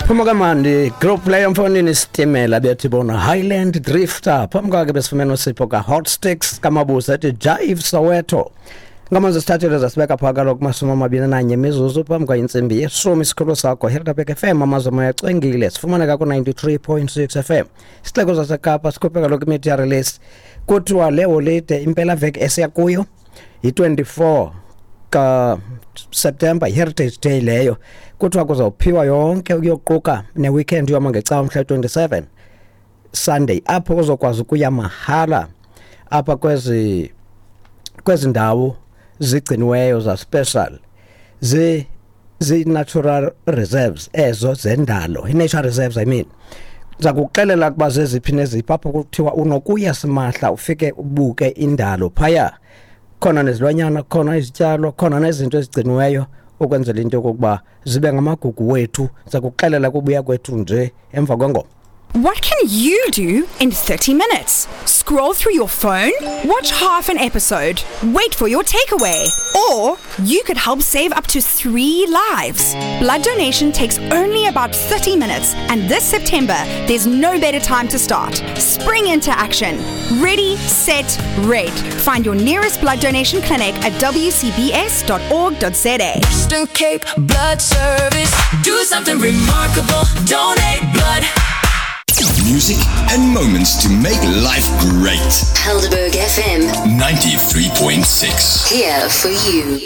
Phuma kamandi group leyo mfonini, isitimela bethi bona Highland Drifter. Phambi kwakhe besifumene uSipho ka-Hot Sticks kaMabusa ethi Jive Soweto. Ngamanzi sithathele zasibeka phaa kaloku 21 mizuzu phambi kwayintsimbi yeshumi. Isikhululo sakho Helderberg FM, amazwe moya acwengile. Sifumaneka ku-93.6 FM, isixeko saseKapa. Sikhuphe kaloku imedia release. Kuthiwa le holide, impelaveki esiya kuyo, yi-24 kaSeptemba, Heritage Day leyo. Kuthiwa kuzawuphiwa yonke ukuyoquka neweekend yoma ngecawa mhla 27, Sunday, apho uzokwazi ukuya mahala apha kwezi ndawo zigciniweyo za-special, zi-natural reserves ezo zendalo, i-nature reserves, I mean. Ndiza kuxelela ukuba zeziphi neziphi apho kuthiwa unokuya simahla, ufike ubuke indalo phaya, khona nezilwanyana, khona izityalo, khona nezinto ezigciniweyo ukwenzela into yokokuba zibe ngamagugu wethu. Ndiza kuxelela kubuya kwethu nje emva kwengoma. What can you do in 30 minutes? Scroll through your phone? Watch half an episode? Wait for your takeaway? Or you could help save up to three lives. Blood donation takes only about 30 minutes, and this September, there's no better time to start. Spring into action. Ready, set, red. Find your nearest blood donation clinic at wcbs.org.za. Western Cape Blood Service. Do something remarkable. Donate blood. Music and moments to make life great. Helderberg FM, 93.6. here for you.